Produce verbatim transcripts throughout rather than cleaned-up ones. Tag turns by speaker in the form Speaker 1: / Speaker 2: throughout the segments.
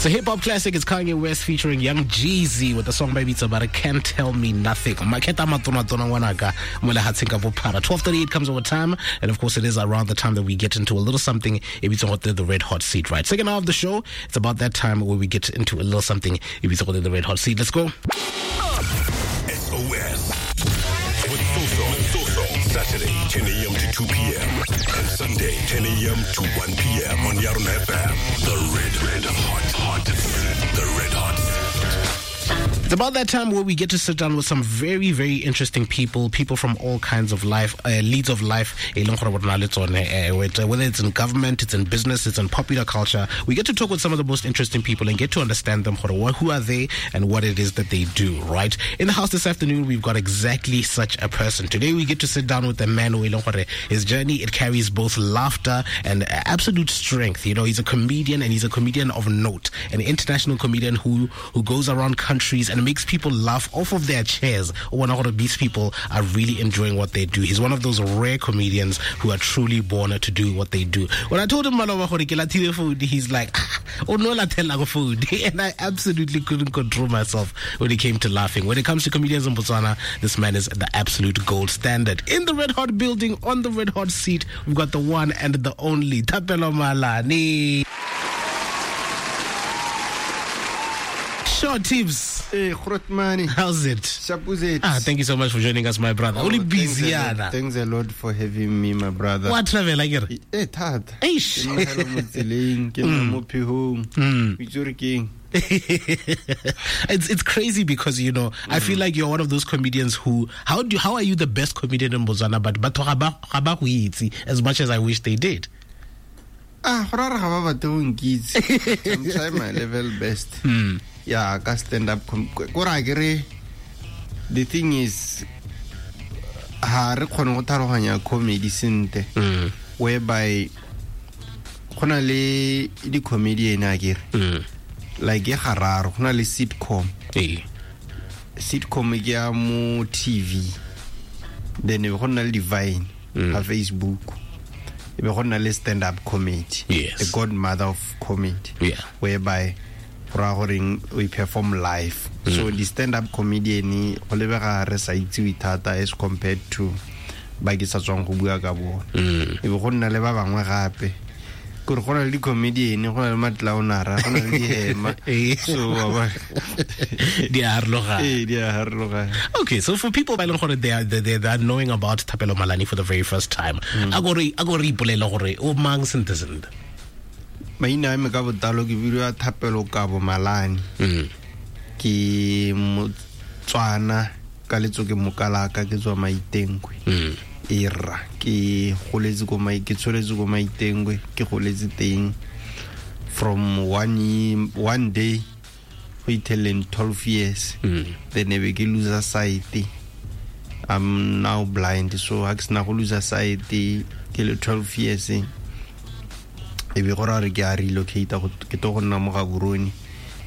Speaker 1: It's a hip-hop classic. It's Kanye West featuring Young Jeezy with the song by Bitsa, but Can't Tell Me Nothing. Maketa matona tona ngwanaka, mo lehatsheng ka bophara. twelve thirty-eight comes over time, and of course it is around the time that we get into a little something, the Red Hot Seat, right? Second hour of the show, it's about that time where we get into a little something, the Red Hot Seat. Let's go.
Speaker 2: S O S with Soso, Soso, Saturday, ten a.m. to two p.m. and Sunday, ten a.m. to one p.m. on Yarona F M. The Red, Red Hot, Hot, The Red Hot Seat.
Speaker 1: It's about that time where we get to sit down with some very, very interesting people, people from all kinds of life, uh, leads of life, whether it's in government, it's in business, it's in popular culture. We get to talk with some of the most interesting people and get to understand them, who are they and what it is that they do, right? In the house this afternoon, we've got exactly such a person. Today, we get to sit down with a man who, his journey, it carries both laughter and absolute strength. You know, he's a comedian, and he's a comedian of note, an international comedian who, who goes around countries and makes people laugh off of their chairs. One of these people are really enjoying what they do. He's one of those rare comedians who are truly born to do what they do. When I told him, he's like, oh no, food. And I absolutely couldn't control myself when it came to laughing. When it comes to comedians in Botswana, this man is the absolute gold standard. In the Red Hot building, on the Red Hot seat, we've got the one and the only Thapelo Malane. Sure, Tibbs.
Speaker 3: Hey, Grootmani.
Speaker 1: How's it?
Speaker 3: Shapuzet.
Speaker 1: Ah, thank you so much for joining us, my brother.
Speaker 3: Oh,
Speaker 1: Only busy,
Speaker 3: thanks, a thanks a lot for having me, my brother.
Speaker 1: What travel like it?
Speaker 3: Eh, tat.
Speaker 1: Eish.
Speaker 3: Mm.
Speaker 1: It's it's crazy because, you know, mm. I feel like you're one of those comedians who how do how are you the best comedian in Botswana, but but as much as I wish they did.
Speaker 3: Ah, I'm trying my level best.
Speaker 1: Mm.
Speaker 3: Yeah, I stand up. The thing is, ha re kgone go tharoganya comedy sentle, whereby go na le di comedian akere, like e gararo, go na le sitcom.
Speaker 1: Eh.
Speaker 3: Sitcom ke ya mo T V. Then go na le Divine ha Facebook. E be go na le stand up comedy.
Speaker 1: Yes.
Speaker 3: The godmother of comedy.
Speaker 1: Yeah.
Speaker 3: Whereby we perform live. Mm. So the stand-up comedian go lebega re sa itsewe thata as compared to ba ke sa tswang go bua ka bona. E be go nna le ba bangwe gape. Gore go na le di-comedian, go na le matlaonara, go na le dihema. So
Speaker 1: di a harologana.
Speaker 3: Eh, di a harologana.
Speaker 1: Okay, so for people ba leng gore they are they, they are knowing about Thapelo Malane for the very first time, a go re a go re ipolela gore o mang sentle sentle.
Speaker 3: Maina a me ka botlalo ke bidiwa Thapelo Kabo Malane.
Speaker 1: Mm.
Speaker 3: Ke Motswana ka letso ke Mokalaka, ke tswa Maitengwe.
Speaker 1: Mm.
Speaker 3: Era ke goletse ko mai ke tsholetse ko Maitengwe, ke goletse teng from one year, one day go itheleng twelve years.
Speaker 1: Mm.
Speaker 3: Then e be ke lose sight. I'm now blind, so ha ke sena go lose sight ke le twelve years. E be gore re ke a relocate go ke to go nna mo Gaborone,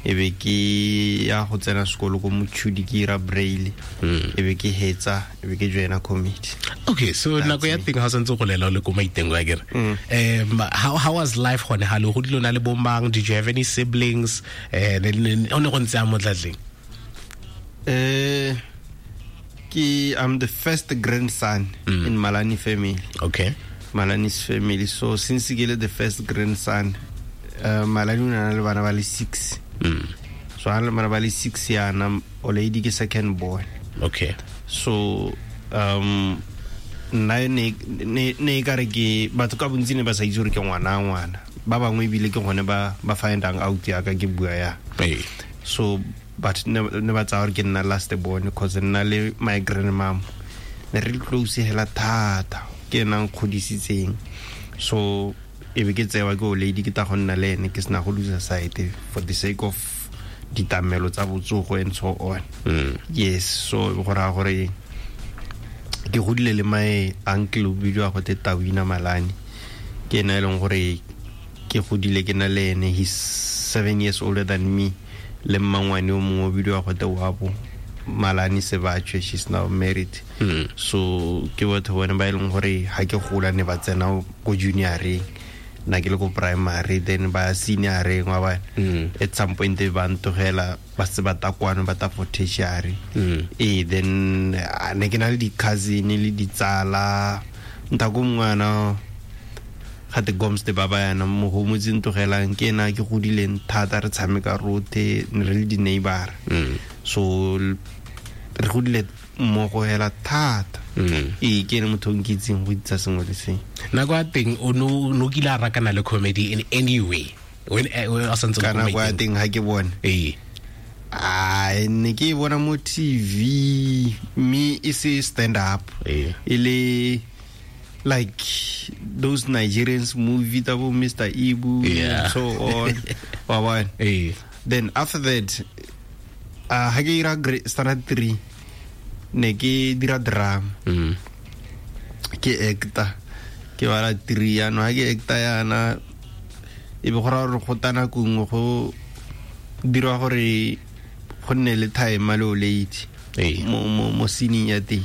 Speaker 3: e be ke ya go tsena sekolo ko Mochudi ke ira braille, e be ke hetsa, e be ke joina comedy.
Speaker 1: Okay, so nako ya teng ha santse go lela le ko Maitengwe akere. Um how how was life gone ha le go dilo na le bomang? Did you have any siblings? Eh o ne go ntse a motlatleng?
Speaker 3: Eh ke I'm the first grandson
Speaker 1: mm.
Speaker 3: in Malane family.
Speaker 1: Okay.
Speaker 3: Malani's family. So since ke le the first grandson, uh, Malani o na le bana ba le six.
Speaker 1: Mm.
Speaker 3: So ha le bana ba le six yana, o lady ke second born.
Speaker 1: Okay.
Speaker 3: So um nna ne ne ne ka re ke batho ka bontsi ne ba sa itse gore ke ngwana ngwana. Ba bangwe ebile ke gone ba ba findang out ya ka ke bua ya.
Speaker 1: Hey.
Speaker 3: So but ne ne ba tsa gore ke nna last born because nna le my grandmom ne re close hela thata. Ke nang kgodisitseng. So e be ke tsewa ke o lady ke ta go nna le ene ke sena go lose sight for the sake of ditamelo tsa botsogo and so on.
Speaker 1: Mm.
Speaker 3: Yes, so go ra gore ke godile le my uncle o bidiwa go te Tawina Malane. Ke ena e leng gore ke godile ke na le ene, he's seven years older than me. Le mmangwane o mongwe o bidiwa go te Wabo Malane Sebatshwe, she's now married.
Speaker 1: Mm.
Speaker 3: So ke batho bone ba e leng gore ha ke gola ne ba tsena ko junioreng. Nna ke le ko primary then ba senior wa ba at some point ba ntogela ba se ba ta kwano ba ta for tertiary. Eh then ne ke na le di cousin le ditsala nta go ngwana ga te gomste ba ba yana mo go motse ntogelang ke ena ke godileng thata re tshameka rote ne re le di neighbor. So re godile mmogo hela thata. Ee ke ene motho o nkitseng go itsa sengwe le sengwe.
Speaker 1: Nako ya teng o no no kile a rakana le comedy in any way when o santse
Speaker 3: ka nako ya teng ha ke bone
Speaker 1: ee
Speaker 3: a ne ke bona mo T V mme e se stand up
Speaker 1: ee
Speaker 3: e le like those Nigerians movie tsa bo Mister Ibu
Speaker 1: yeah.
Speaker 3: and so on. Wa bona
Speaker 1: ee
Speaker 3: then after that uh ha ke ira standard three ne ke dira drama.
Speaker 1: Mm.
Speaker 3: Ke actor ke bala three yana ha ke actor yana e be go ra gore go tana kungwe go dirwa gore go nne le time le o late mo mo mo scene ya teng.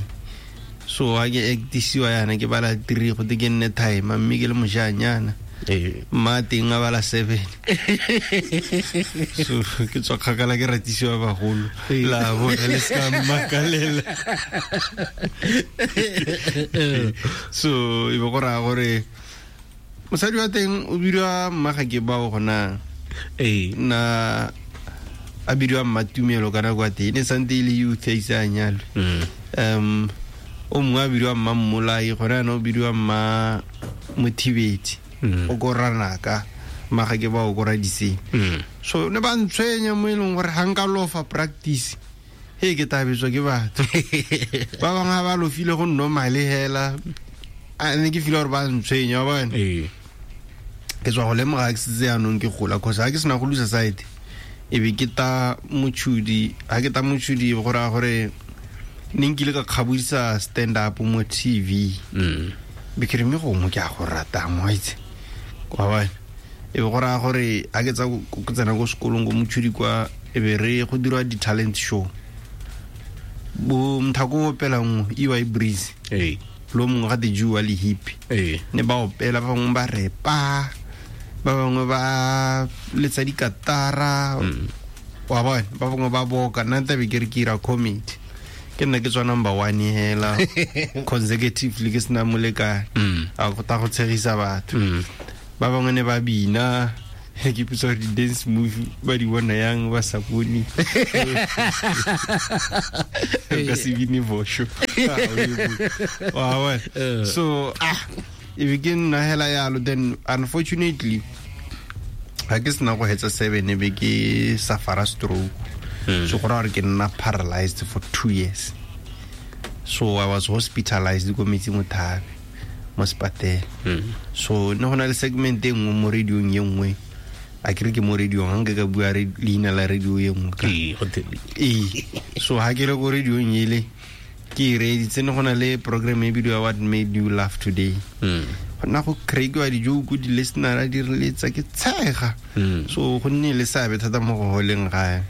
Speaker 3: So ha ke actisiwa yana ke bala three go te ke nne time mme ke le mojanyana
Speaker 1: ee
Speaker 3: mma teng a bala seven. So ke tswa kgakala ke ratisiwa bagolo la bona le ska mmakalela. So e be go raya gore mosadi wa teng o bidiwa mma ga ke bao gona
Speaker 1: ee
Speaker 3: na a bidiwa Mmatumelo ka nako ya teng e ne santse e le youth a ise a nyalwe. Um o mongwe a bidiwa mma Mmolai gona yana o bidiwa mma Mothibedi o ko ranaka mma ga ke ba o ko radiseng. So ne ba ntshwenya mo e leng gore ga nka lofa practice he ke tabetswa ke batho ba bangwe ga ba lofile go normal hela a ne ke feel gore ba ntshwenya wa bona.
Speaker 1: Ee
Speaker 3: ke tswa go lemoga ke setse yanong ke gola cause ha ke sena go lose side e be ke ta Mochudi ha ke ta Mochudi go raya gore ne nkile ka kgabodisa stand up mo T V. Be ke re mme gongwe ke a go rata mo itse wa bona e be go raya gore ha ke tsa go tsena ko sekolong ko Mochudi kwa e be re go dirwa di-talent show bo mthako opela nngwe E Y Breeze
Speaker 1: ee
Speaker 3: lo mongwe ga te Jew le hippie
Speaker 1: ee
Speaker 3: ne ba opela ba bangwe ba repa ba bangwe ba letsa dikatara wa bona ba bangwe ba boka nna tabe ke re ke ira comedy ke nna ke tswa number one hela consecutively ke sena molekane a go ta go tshegisa batho. Ba bangwe ne ba bina ke ipotsa gore di-dance movie ba di bona yang ba sa bone ka se bine bosho wa bona. So ah e be ke nna hela yalo then unfortunately ha ke sena go hetsa seven e be ke suffer stroke. So go ra gore ke nna paralyzed for two years. So I was hospitalized ko Metsi Mothabe mo sepatela. So ne go na le segment e nngwe mo radiong ye nngwe a ke re ke mo radiong ga nke ka bua leina la radio ye nngwe ka ee so ha ke le ko radiong ele ke e reeditse ne go na le program e bidiwa What Made You Laugh Today. Go nna go crackiwa di-joke di-listener di re letsa ke tshega. So go nne le seabe thata mo go holeng gae.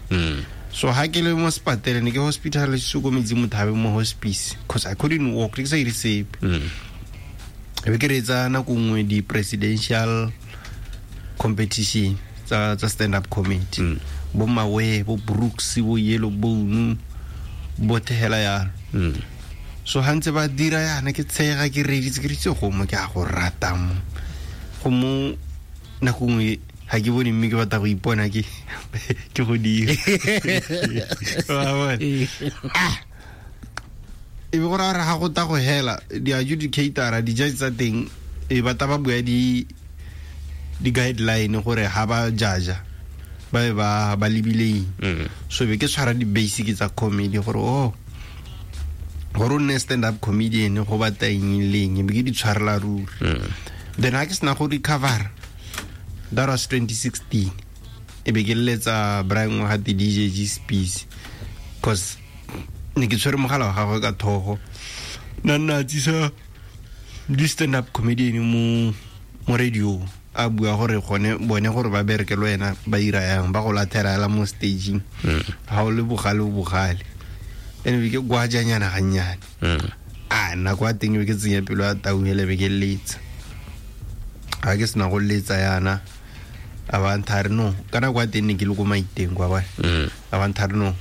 Speaker 3: So ha ke le mo sepatela ne ke hospitalisitswe ko Metsi Mothabe mo hospice cause I couldn't walk ke sa ire sepe. E be ke reetsa nako nngwe di-presidential competition tsa tsa stand up comedy bo Mawe bo Brooks bo Yellow Bone bo thehela yalo. So ha ntse ba dira yana ke tshega ke reeditse ke ritse go mo ke a go rata mo go mo nako nngwe ha ke bone mme ke batla go ipona ke ke go dira wa bona ah e be go raya gore ga go ta go hela di-adjudicator di-judge tsa teng e batla ba bua di di-guideline gore ha ba judge ba be ba ba lebile eng. So be ke tshwara di-basic tsa comedy gore oh gore o nne stand up comedian go batla eng le eng be ke di tshwarela ruri. Then ha ke sena go recover that was twenty sixteen e be ke letsa Brian wa ga D J G Spees cause ne ke tshwere mogala wa gagwe ka thogo nna nna tsisa di stand up comedian mo mo radio a bua gore gone bone gore ba bereke le wena ba ira yang ba go lathela la mo staging ha o le bogale o bogale ene be ke gwajanyana gannyane. A nna kwa teng be ke tsenya pelo ya tau hele be ke letsa Ga ke sena go letsa yana a ba ntha re no ka nako ya teng ne ke le ko Maiteng kwa ba a ba ntha re no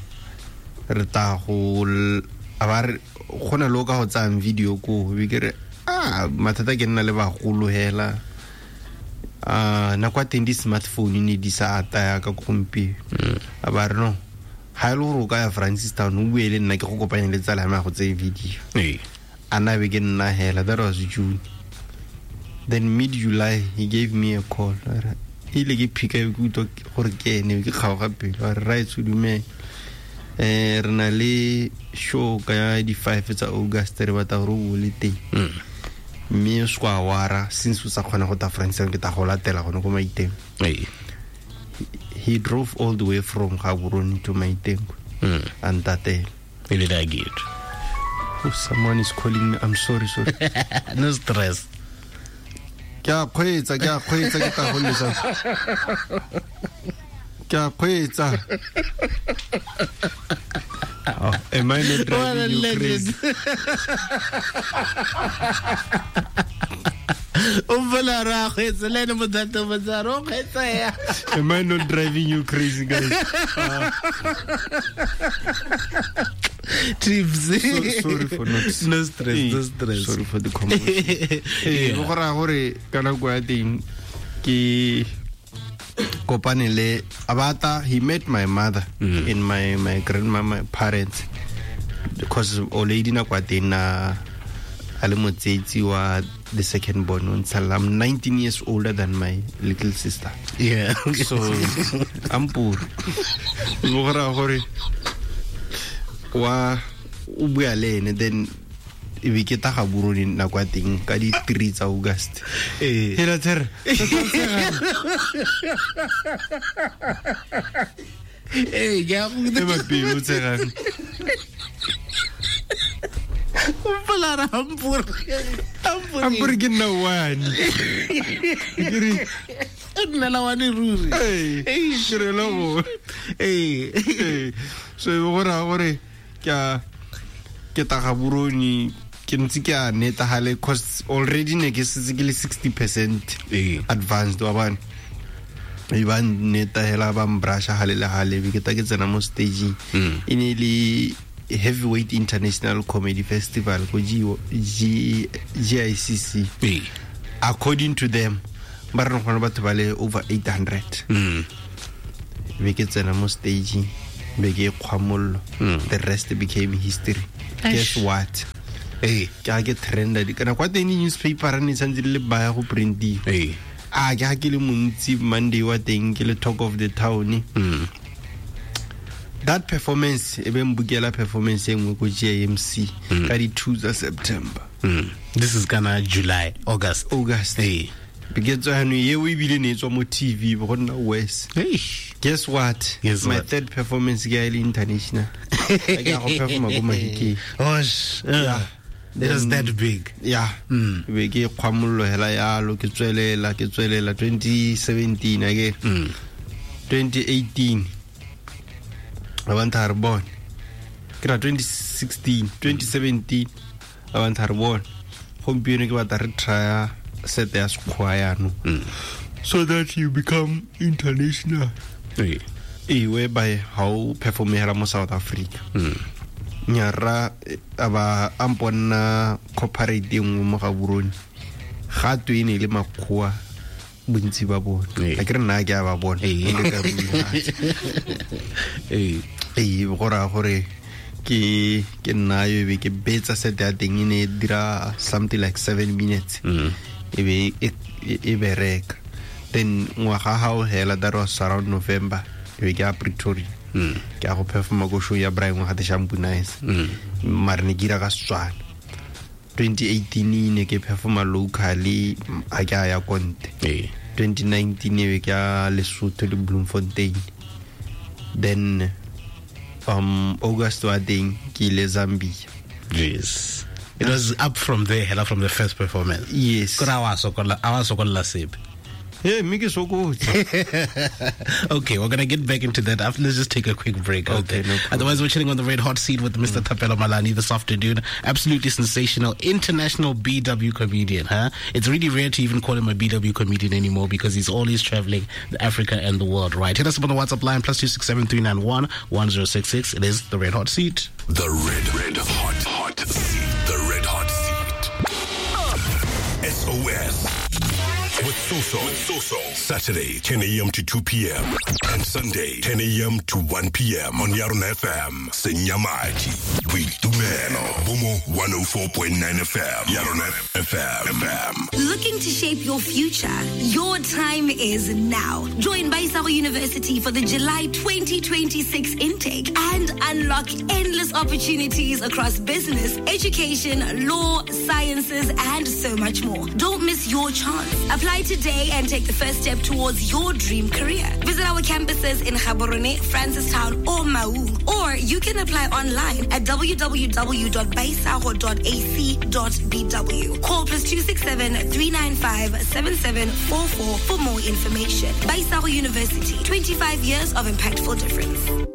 Speaker 3: re ta go a ba re go na le o ka go tsayang video ko be ke re ah mathata ke nna le bagolo hela a nako ya teng di-smartphone ne di sa ata yaka gompieno a ba re no ga e le gore o ka ya Francistown o bue le nna ke go kopanya le tsala ya me go tseye video a na be ke nna hela. That was June. Then mid July he gave me a call. Ile ke phika ke utlwa gore ke ene ke kgaoga pelo a re raetsho dumela eh re na le show ka di five tsa August re batla gore o le teng mme o se kwa wara since o sa kgona go ta Francistown ke ta go latela gone ko Maiteng. He drove all the way from Gaborone to Maiteng and tatela
Speaker 1: ile da get.
Speaker 3: Oh, someone is calling me. I'm sorry, sorry.
Speaker 1: No stress.
Speaker 3: Ke a kgweetsa ke a kgweetsa ke tla go lesa ke a kgweetsa. Oh, am I not driving you crazy? Am I not driving you crazy, guys? Uh,
Speaker 1: Trips.
Speaker 3: So, sorry for not.
Speaker 1: No stress, no stress.
Speaker 3: Sorry for the commotion. Eh, go ra gore ka nako ya teng ke kopane le Abata. He met my mother mm. and my my grandma, my parents, because already nako ya teng na a le motsetsi wa the second born. I'm nineteen years older than my little sister.
Speaker 1: Yeah.
Speaker 3: So I'm poor. Go ra gore wa o bua le ene then e be ke ta Gaborone nako ya teng ka di three tsa August.
Speaker 1: Eh.
Speaker 3: Hela tsere.
Speaker 1: Eh, ya go
Speaker 3: te ba pelo tsegang.
Speaker 1: O polara ampur. Ampur.
Speaker 3: Ampur ke nna one. Ke re
Speaker 1: nna la one ruri.
Speaker 3: Eh, ke re la go.
Speaker 1: Eh.
Speaker 3: So e go ra gore ke a ke ta Gaborone ke ntse ke a netagale cause already ne ke setse ke le sixty percent advanced wa bana e ba neta hela ba mbrasha hale le hale be ke ta ke tsena mo staging e ne le Heavyweight International Comedy Festival ko G I C C. According to them ba re gone batho ba le over eight hundred. Be ke tsena mo staging be ke kgwamollo, the rest became history. Guess what?
Speaker 1: Eh,
Speaker 3: ke a ke trenda di kana kwa teng newspaper ne santse le baya go printiwa.
Speaker 1: Eh,
Speaker 3: a ke ha ke le montsi Monday wa teng ke le talk of the town.
Speaker 1: Mm.
Speaker 3: That performance e be mbukela performance e nngwe ko G I M C ka di two tsa September.
Speaker 1: Mm. This is kana July, August.
Speaker 3: August.
Speaker 1: Eh.
Speaker 3: Be tswa hano ye o ebile ne tswa mo T V bo gonna worse.
Speaker 1: Hey.
Speaker 3: Guess what?
Speaker 1: Guess
Speaker 3: my
Speaker 1: what?
Speaker 3: Third performance ke ile international. Ke go performa go Mahikeng.
Speaker 1: Oh, yeah. It was that big.
Speaker 3: Yeah.
Speaker 1: Mm.
Speaker 3: Be ke kgwamollo hela yalo ke tswelela ke tswelela twenty seventeen ake.
Speaker 1: Mm.
Speaker 3: twenty eighteen. Abantu are born. Ke ra twenty sixteen, twenty seventeen abantu are born. Gompieno ke batla re try set ya sekgwa yano.
Speaker 1: Mm.
Speaker 3: So that you become international.
Speaker 1: Eh.
Speaker 3: Eh, whereby how perform hela mo South Africa.
Speaker 1: Mm.
Speaker 3: Nyara aba amponna corporate nngwe mo Gaborone ga twe e ne le makgowa bontsi ba bone a ke re nna ke a ba bona
Speaker 1: eh
Speaker 3: eh go ra gore ke ke nna yo be ke betsa set ya teng e ne dira something like seven minutes e be e bereka. Then ngwaga ha o hela that was around November e be ke a Pretoria. Ke a go performa go show ya Brian wa gate Shampoo Nice. Mare ne ke ira ka Setswana. twenty eighteen ne ke performa locally a ke a ya Konte. twenty nineteen e be ke a Lesotho le Bloemfontein. Then um August wa teng ke ile Zambia.
Speaker 1: Yes. It was up from there, hela from the first performance.
Speaker 3: Yes.
Speaker 1: Kora wa sokola, a wa sokola sepe.
Speaker 3: Hey, mme ke sokotse.
Speaker 1: Okay, we're gonna get back into that after. Let's just take a quick break.
Speaker 3: Okay,
Speaker 1: okay.
Speaker 3: No problem.
Speaker 1: Otherwise, we're chilling on the Red Hot Seat with Mister Mm. Thapelo Malane this afternoon. Absolutely sensational international B W comedian, huh? It's really rare to even call him a B W comedian anymore because he's always traveling Africa and the world, right? Hit us up on the WhatsApp line, plus two six seven three nine one one zero six six. It is the Red Hot Seat.
Speaker 2: The Red, Red Hot, Hot Seat. The Red Hot Seat. S O S. With Soso. With Soso. Saturday, ten a.m. to two p.m. and Sunday, ten a.m. to one p.m. on Yarona F M. Senyamaji. Boitumelo. Bomo one oh four point nine F M. Yarona F M. F M.
Speaker 4: Looking to shape your future? Your time is now. Join Baisago University for the July twenty twenty-six intake and unlock endless opportunities across business, education, law, sciences, and so much more. Don't miss your chance. Apply today and take the first step towards your dream career. Visit our campuses in Gaborone, Francistown, or Maun, or you can apply online at w w w dot baisago dot a c dot b w. Call plus two six seven, three nine five, seven seven four four for more information. Baisago University, twenty-five years of impactful difference.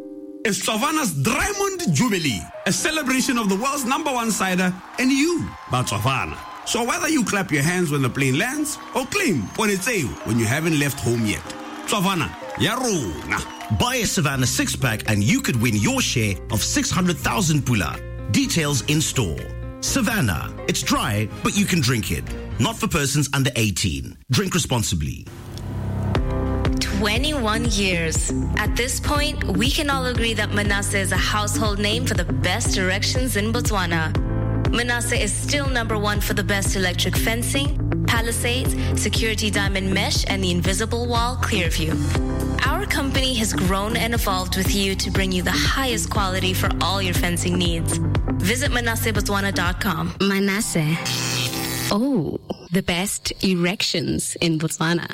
Speaker 5: It's Savannah's Diamond Jubilee, a celebration of the world's number one cider and you, Botswana. So whether you clap your hands when the plane lands or claim Ponetseo when you haven't left home yet, Savannah, ya rona.
Speaker 6: Buy a Savannah six-pack and you could win your share of six hundred thousand pula. Details in store. Savannah, it's dry, but you can drink it. Not for persons under eighteen. Drink responsibly.
Speaker 7: twenty-one years. At this point, we can all agree that Manasseh is a household name for the best directions in Botswana. Manasseh is still number one for the best electric fencing, palisades, security diamond mesh, and the invisible wall Clearview. Our company has grown and evolved with you to bring you the highest quality for all your fencing needs. Visit manasseh botswana dot com.
Speaker 8: Manasseh. Oh, the best erections in Botswana.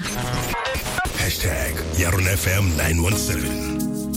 Speaker 2: Hashtag Yarona F M nine one seven.